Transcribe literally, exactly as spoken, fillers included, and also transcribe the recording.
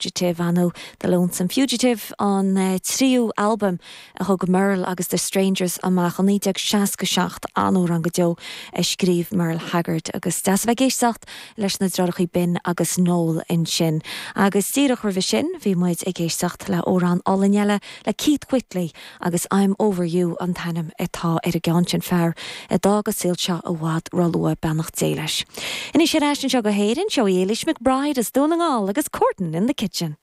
Fugitive nó The Lonesome Fugitive an uh, tríú albam a thug Merle agus The Strangers amach an naoi déag seasca seacht an-amhrán go deo a scríobh Merle Haggard agus deas bheith ag éisteacht leis na deartháireacha Ben agus Noel ansin. Agus díreach roimhe sin bhí muid ag éisteacht le amhrán álainn eile le Keith Whitley agus I'm Over You an t-ainm atá ar an gceann sin fear a d'fhág an saol seo i bhfad róluath beannacht Dé leis. Anois ar ais anseo go hÉirinn seo Éilish McBride as Dún na nGall agus Courtin in the Kitchen.